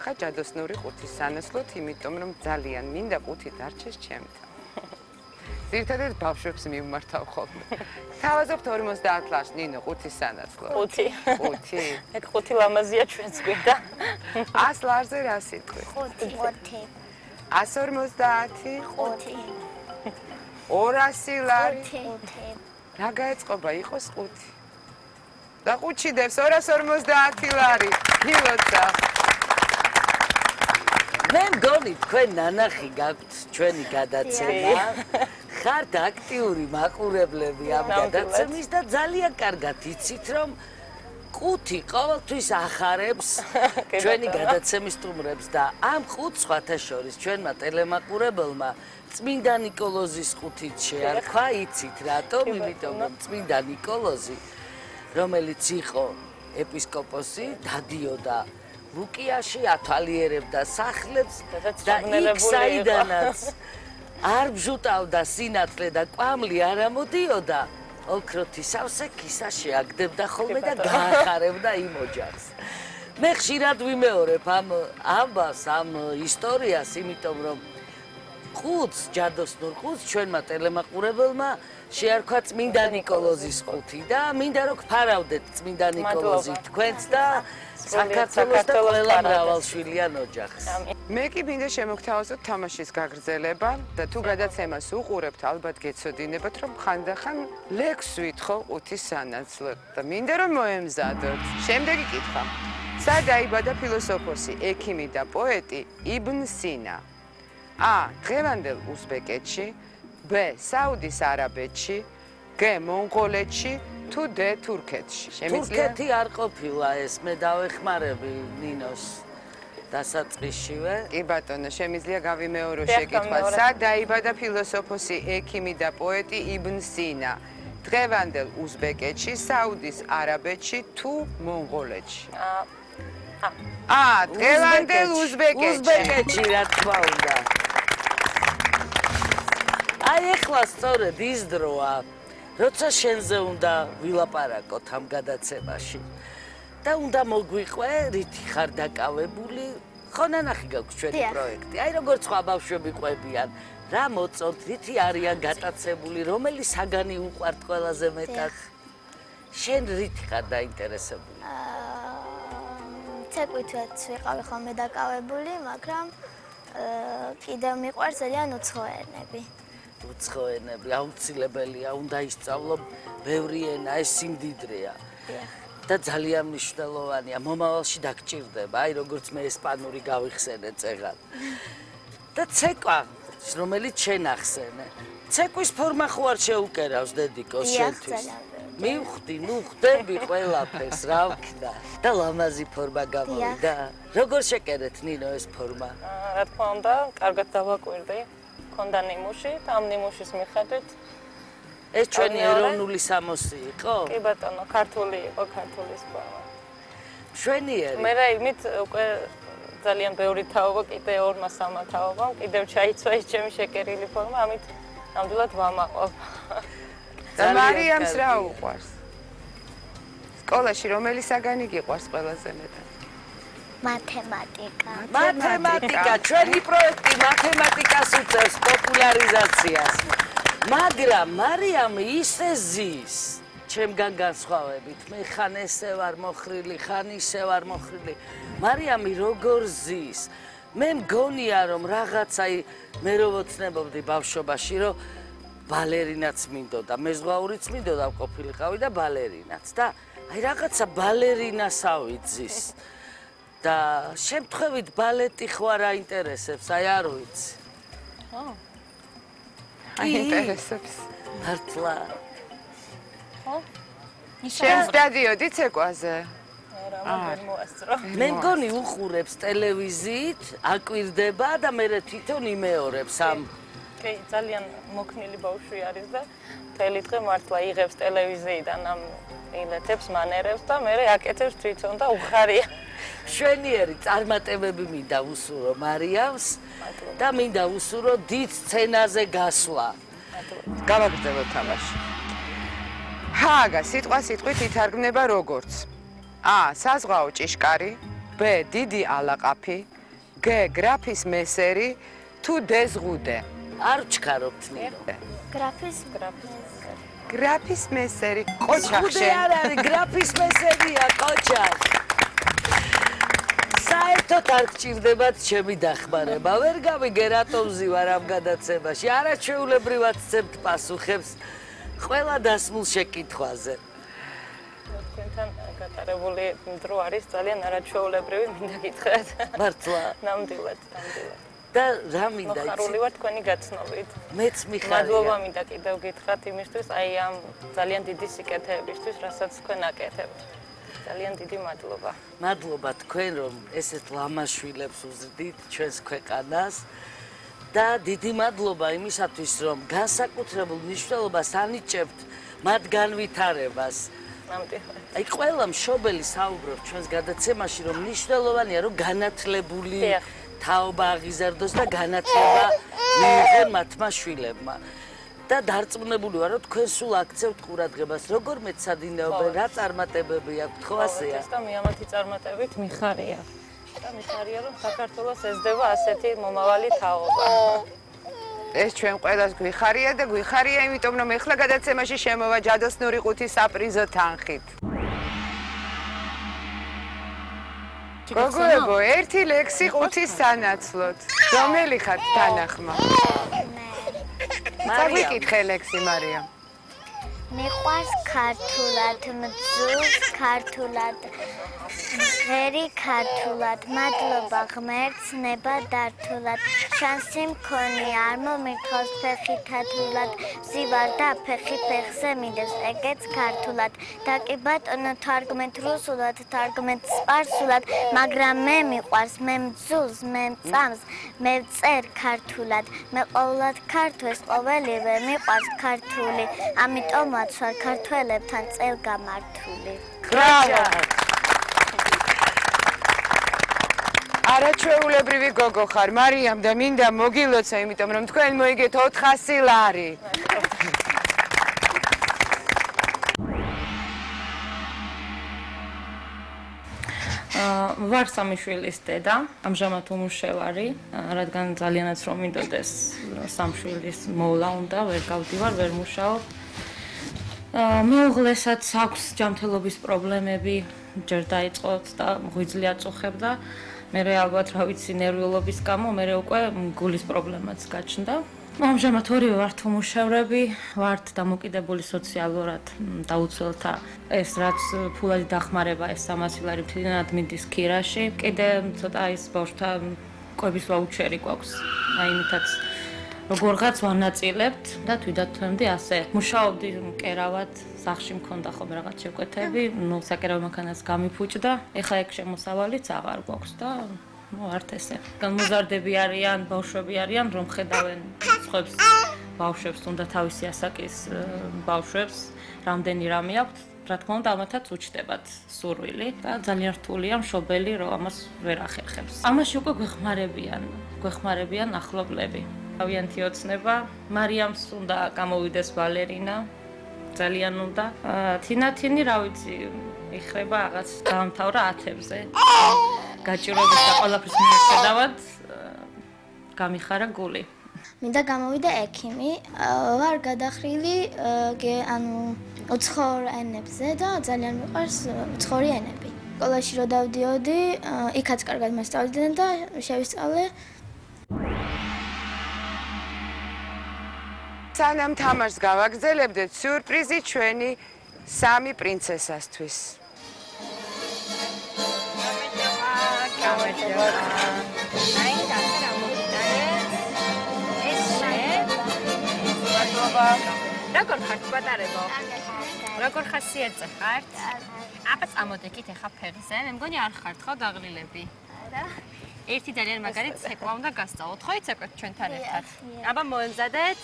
გამოვახა ჯადოსნური ყუთის სანაცვლოდ, იმიტომ რომ ძალიან მინდა ყუთი დარჩეს ჩემთან. ძირითადად ბავშვებს მივმართავ ხოლმე. თავაზობთ 50 ლარს ნინო ყუთის სანაცვლოდ. 5. ეგ 5 ლამაზია ჩვენს გვერდა. 100 ლარზე რა სიტყვი? 5. 150. 5. 200 ლარი. 5. რა გაეწყობა იყოს 5. და ყუჩიდებს 250 ლარი. გილოცა. მე მგონი თქვენ ნანახი გაქვთ ჩვენი გადაცემა. ხართ აქტიური მაყურებლები ამ გადაცემის და ძალიან კარგად იცით რომ ყუთი ყოველთვის ახარებს ჩვენი გადაცემის სტუმრებს და ამ ყუთს სხვათა შორის ჩვენმა ტელემაყურებელმა წმინდა ნიკოლოზის ყუთით შეარქვა, იცით რატომ? იმიტომ რომ წმინდა ნიკოლოზი, რომელიც იყო ეპისკოპოსი, დადიოდა ლუკიაში, ათვალიერებდა სახლებს და იქ საიდანაც არ ბჟუტავდა სინათლე და კვამლი არ ამოდიოდა, ოქროთი სავსე ქისა შეაგდებდა ხოლმე და გაახარებდა იმ ოჯახს. მე ხშირად ვიმეორებ ამ ამბავს, ამ ისტორიას, იმიტომ რომ ყუთს, ჯადოსნურ ყუთს ჩვენმა ტელემაყურებელმა შეარქვა წმინდა ნიკოლოზის ყუთი და მინდა რომ გფარავდეთ წმინდა ნიკოლოზი თქვენც და საქართველოს და ყველა მრავალშვილიან ოჯახს. მე კი მინდა შემოგთავაზოთ თამაშის გაგრძელება და თუ გადაცემას უყურებთ, ალბათ გეცოდინებათ, რომ ხანდახან ლექს ვითხოვ ყუთის სანაცვლოდ და მინდა რომ მოემზადოთ. შემდეგი კითხვა. სად დაიბადა ფილოსოფოსი, ექიმი და პოეტი იბნ სინა? A. დღევანდელ უზბეკეთში, B. საუდის არაბეთში, G. მონღოლეთში, თუ D. თურქეთში. თურქეთი არ ყოფილა ეს, მე დავეხმარები ნინოს დასაწყისშივე. კი ბატონო, შემიძლია გავიმეორო შეკითხვა. სად დაიბადა ფილოსოფოსი, ექიმი და პოეტი იბნ სინა? დღევანდელ უზბეკეთში, საუდის არაბეთში, თუ მონღოლეთში? დღევანდელ უზბეკეთში, რა თქმა უნდა. აი ეხლა სწორედ ის დროა, როცა შენზე უნდა ვილაპარაკოთ ამ გადაცემაში და უნდა მოგვიყვე, რითი ხარ დაკავებული, ხო ნანახი გაქვს ჩვენი პროექტი. აი როგორც სხვა ბავშვები ყვებიან, რა მოწონთ, რითი არიან გატაცებული, რომელი საგანი უყვართ ყველაზე მეტად? შენ რითი ხარ დაინტერესებული? ცეკვითაც ვიყავი ხოლმე დაკავებული, მაგრამ კიდევ მიყვარს ძალიან უცხოენები. უცხოენები აუცილებელია, უნდა ისწავლო ბევრი ენა, ეს სიმდიდრეა. და ძალიან მნიშვნელოვანია, მომავალში დაგჭირდება, აი როგორც მე ესპანური გავიხსენე წეგან. და ცეკვა, რომელიც შენ ახსენე. ცეკვის ფორმა ხო არ შეუკერავს დედიკოს შენთვის? მივხვდი, ნუ ხვდები ყველაფერს, რა ვქნა. და ლამაზი ფორმა გამოვიდა. როგორ შეკერეთ ნინო ეს ფორმა? რა თქმა უნდა, კარგად დავაკვირდი. ქონდა ნიმუში და ამ ნიმუშის მიხედვით ეს ჩვენი ეროვნული სამოსი იყო? კი ბატონო, ქართული იყო, ქართულის ფორმა. მშვენიერი. მე რა იმით უკვე ძალიან ბევრი თაობა, კიდე 2-3 თაობა, კიდევ ჩაიცვა ის ჩემი შეკერილი ფორმა, ამით ნამდვილად ვამაყობ. და მარიამს რა უყვარს? სკოლაში რომელი საგანი გიყვარს ყველაზე მეტად? მათემატიკა. მათემატიკა, ჩვენი პროექტი მათემატიკას უწევს პოპულარიზაციას. მაგრამ მარიამ ისე ზის ჩემგან განსხვავებით, მე ხან ესე ვარ მოხრილი, ხან ისე ვარ მოხრილი. მარიამი როგორ ზის? მე მგონია რომ რაღაცა მე რო ვოცნებობდი ბავშვობაში, რომ ბალერინაც მინდოდა, მეზღვაურიც მინდოდა ყოფილიყავი და ბალერინაც და აი რაღაცა ბალერინასავით ზის. და შემთხვევით ბალეტი ხო არ აინტერესებს, აი არ ვიცი. აინტერესებს. მართლა. ხო? შენს დადიოდი ცეკვაზე? არ მოასწრო. მე მგონი უყურებს ტელევიზიით, აკვირდება და მე თვითონ იმეორებს ამ. კი, ძალიან მოქნილი ბავშვი არის და მთელი დღე მართლა იღებს ტელევიზიიდან ამ ილეთებს, მანერებს და მე აკეთებს თვითონ და უხარია. შვენიერი წარმატებები მინდა უსურო მარიამს და მინდა უსურო დიდ სცენაზე გასვლა. გავაგრძელოთ თამაში. ჰააგა სიტყვა სიტყვით ითარგმნება როგორც A. საზღვაო ჭიშკარი, B. B დიდი ალაყაფი, G გრაფის მესერი, თუ D ზღუდე. არ ვჩქარობთ ნირო. გრაფის მესერი, ყოჩახში. არ არის, გრაფის მესერია, ყოჩახ. საერთოდ არ გჭირდებათ ჩემი დახმარება. ვერ გავიგე რატომ ზივარ ამ გადაცემაში. არაჩვეულებრივად ვცემთ პასუხებს ყველა დასმულ შეკითხვაზე. თქვენთან გატარებული დრო არის ძალიან არაჩვეულებრივი, მინდა გითხრათ. მართლა. ნამდვილად. და რა მინდა იცი? მოხარული ვარ თქვენი გაცნობით. მეც მიხარია. მადლობა მინდა კიდევ გითხრათ იმისთვის, აი ამ ძალიან დიდი სიკეთეებისთვის, რასაც თქვენ აკეთებთ. ძალიან დიდი მადლობა. მადლობა თქვენ რომ ესეთ ლამაშვილებს უზრდით ჩვენს ქვეყანას და დიდი მადლობა იმისათვის რომ განსაკუთრებულ მნიშვნელობას ანიჭებთ მათ განვითარებას. ნამდვილად. აი ყველა მშობელი საუბრობს ჩვენს გადაცემაში რომ მნიშვნელოვანია რომ განათლებული თაობა აღიზარდოს და განათლება მიიღონ მათმა შვილებმა. და დარწმუნებული ვარ რომ თქვენ სულ აქცევთ ყურადღებას როგორ მეცადინეობენ რა წარმატებები აქვთ ხო ასეა და მიამათი წარმატებით მიხარია და მიხარია რომ საქართველოს ესდება ასეთი მომავალი თაობა ეს ჩვენ ყველას გვიხარია და გვიხარია იმიტომ რომ ეხლა გადაცემაში შემოვა ჯადოსნური ყუთი საპრიზო თანხით გოგოებო ერთი ლექსი ყუთის სანაცვლოდ რომელი ხართ თანახმა წაგვიკითხე ლექსი მარია. მიყვარს ქართულად, მძულს ქართულად, ღერი ქართულად, მადლობა ღმერთს ნება დართულად, შანსი მქონია, არ მომირთავს ფეხი თათულად, ვზივარ და ფეხი ფეხზე მინდებს, ეგეც ქართულად, და კი ბატონო თარგმეთ რუსულად, თარგმეთ სპარსულად, მაგრამ მე მიყვარს, მე მძულს, მე მწამს, მე ვწერ ქართულად, მე ყოვლად ქართველს ყოველივე მიყვარს ქართული, ამიტომაც ვარ ქართველებთან წელგამართული. ბრავო! არაჩვეულებრივი გოგო ხარ, მარიამ და მინდა მოგილოცო, იმიტომ რომ თქვენ მოიგეთ 400 ლარი. ვარ სამი შვილის დედა, ამჟამად უმუშევარი, რადგან ძალიანაც რომ მინდოდეს სამშვილის მოვლა უნდა, ვერ გავდივარ, ვერ მუშაობ. მეუღლესაც აქვს ჯანმრთელობის პრობლემები, ჯერ დაიწყოთ და ღვიძლი აწუხებდა. მე ალბათ რა ვიცი ნერვიულობის გამო მე უკვე გულის პრობლემაც გაჩნდა. ამჟამად ორივე ვართ უმუშევრები, ვართ დამოკიდებული სოციალურად დაუცველთა ეს რაც ფულადი დახმარება ეს 300 ლარი მთლიანად მიდის ქირაში. კიდე ცოტა ის ბავშვთა კვების ვაუჩერი გვაქვს. აი იმითაც როგორღაც ვანაწილებთ და თვითონ თემდი ასე. მუშაობდი მკერავად, სახლში მქონდა ხოლმე რაღაც შეკვეთები, საკერავო მანქანას გამიფუჭდა. ეხლა ეგ შემოსავალიც აღარ გვაქვს და ვართ ესე. განმოზარდები არიან, ბავშვები არიან, რომ ხედავენ სხვებს ბავშვებს, თუნდა თავისი ასაკის ბავშვებს, რამდენი რამე აქვთ. რა თქმა უნდა, ამათაც უჩნდებათ სურვილი და ძალიან რთულია მშობელი, რომ ამას ვერ ახერხებს. ამაში უკვე გვეხმარებიან ახლობლები. თავიანთი ოცნება, მარიამს უნდა გამოვიდეს ვალერინა, ძალიან უნდა. თინათინი, რა ვიცი, იხრება რაღაც დაამთავრა 10-ზე. გაჭირვების და ყველაფრის მიუხედავად გამიხარა გული. მინდა გამოვიდე ექიმი, ვარ გადახრილი, ანუ უცხოურ ენებზე და ძალიან მიყვარს უცხოური ენები. სკოლაში რო დავდიოდი, იქაც კარგად მასწავლდნენ და შევისწავლე. სანამ თამაშს გავაგრძელებდეთ, სიურპრიზი ჩვენი სამი პრინცესასთვის. როგორ ხართ პატარებო? როგორ ხასიათზე ხართ? აბა წამოდეკით ახლა ფეხზე, მე მგონი არ ხართ ხო დაღლილები? არა. ერთი ძალიან მაგარი ცეკვა უნდა გასწავლოთ, ხო იცეკვეთ ჩვენთან ერთად? აბა მოემზადეთ.